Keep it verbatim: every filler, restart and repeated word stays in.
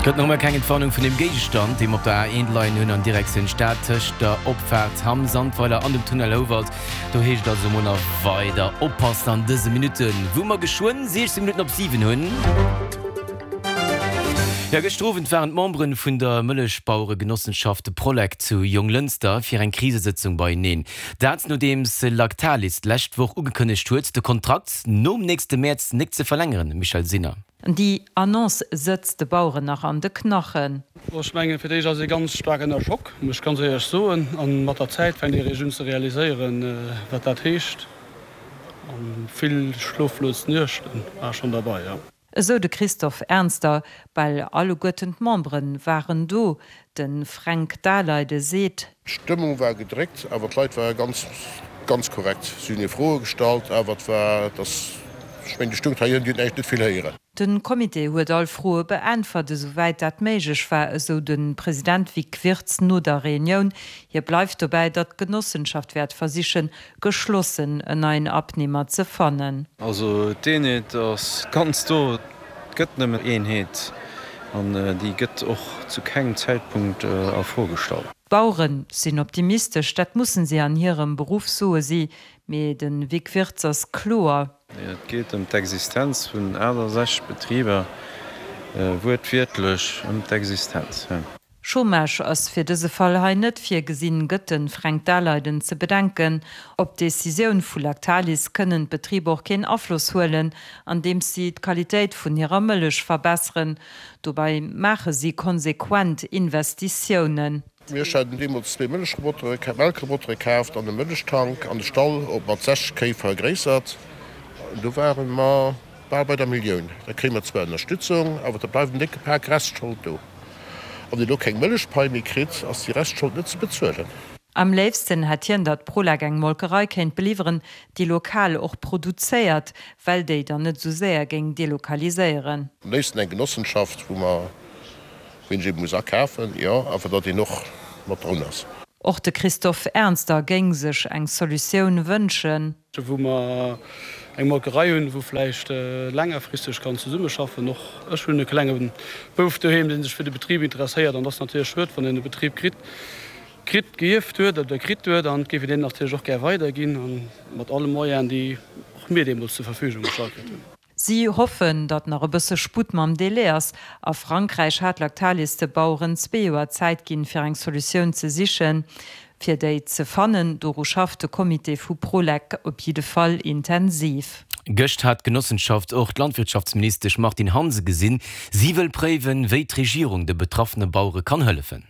Gëtt nach ëmmer keng Entwarnung vun dem Géigestand, dee mer op der A eent leien hunn an Direktioun Stad tëscht der Opfaart Hamm-Sandweiler an dem Tunnel Houwald. Do heescht et also mol nach weider oppassen an dëse Minutten, wou mer geschwënn siechzéng Minutten op siwen hunn. Jo, gëschter Owend waren d'Memberen vun der Mëllechbaueregenossenschaft Prolec zu Jonglënster fir eng Krisesëtzung beieneen. Dat nodeems Lactalis d'lescht Woch ugekënnegt huet, de Kontrakt nom nächste Mäerz nik ze verlängeren. Michèle Sinner. Déi Annonce sëtzt de Baueren nach an de Knachen. Ech mengen, fir d'éischt ass ee ganz staark ënner Schock, muss ech ganz éierlech soen. A mat der Zäit fänkt ee eréischt un ze realiséieren, wat dat heescht. A vill schloflos Nuechte war schonn derbei, jo. Esou de Christophe Ernster. Bal alleguerten d'Membere waren do. De Fränk Daleide seet. D'Stëmmung war gedréckt, awer d'Leit ware ganz, ganz korrekt. Si hunn hir Froe gestallt, awer et war, et ass, ech mengen, déi stoung hei ënnen, déi huet näischt, net vill héieren. De Comité huet all Froe beäntwert, esouwäit dat méiglech war, esou de President Vic Wirtz no der Reunioun. Hie bleift dobäi, datt d'Genossenschaft wäert versichen, geschlossen en neien Abnehmer ze fannen. Also d'Eenheet ass ganz do. Et gëtt nëmmen Eenheet an déi gëtt och zu kengem Zäitpunkt a Fro gestallt. D'Bauere sinn optimistesch, dat mussen si an hirem Beruff, soe si. Mee de Vic Wirtz ass kloer. Et geet ëm d'Existenz vun aachtasechzeg Betriber, wuertwiertlech ëm d'Existenz. Chômage ass fir dëse Fall hei net virgesinn, gëtt de Fränk Daleiden ze bedenken. Op d'Decisioun vu Lactalis kënnen d'Betriber och keen Afloss huelen, andeems si d'Qualitéit vun hirer Mëllech verbesseren. Dobäi maache si konsequent Investitiounen. Mir haten deemools zwee Mëllechrobotere, Melkrobotere kaaft an e Mëllechtank an de Stall op mat sechzeg Kéi vergréissert. Do ware mer bal bei der Millioun. Da kréie mer zwar Ënnerstützung, awer da bleift en décke Pak Restschold do. Wann een elo keng Mëllechpai méi kritt, ass déi Restschold net ze bezuelen. Am léifsten hätt hien, datt Prolec eng Molkerei kéint beliwweren, déi lokal och produzéiert, well déi dann net esou séier géing delokaliséieren. Am léifsten eng Genossenschaft, wou mer Ween ech eben muss akafen, jo, awer datt een och mat drun ass. Och de Christophe Ernster géing sech eng Solutioun wënschen. Wou mer eng Molkerei hunn, wou vläicht längerfristeg kann zesummeschaffen. Och ech hunn e klenge Bouf doheem, dee sech fir de Betrib interesséiert. An et ass natierlech schued, wann een e Betrib kritt, kritt, gierft huet oder kritt huet, an et géif een deen natierlech och gär weiderginn, a mat alle Moyenen, déi och mir deemools zur Verfügung gestallt kritt hunn. Si hoffen, datt nach e bësse Sputt mam Delai ass. A Frankräich hat Lactalis de Baueren zwee Joer Zäit ginn, fir eng Solutioun ze sichen. Fir déi ze fannen, doru schafft de Comité vu Prolec op jidde Fall intensiv. Gëscht hat d'Genossenschaft och d'Landwirtschaftsministesch Martine Hansen gesinn. Si wëll préiwen, wéi d'Regierung de betraffene Bauere kann hëllefen.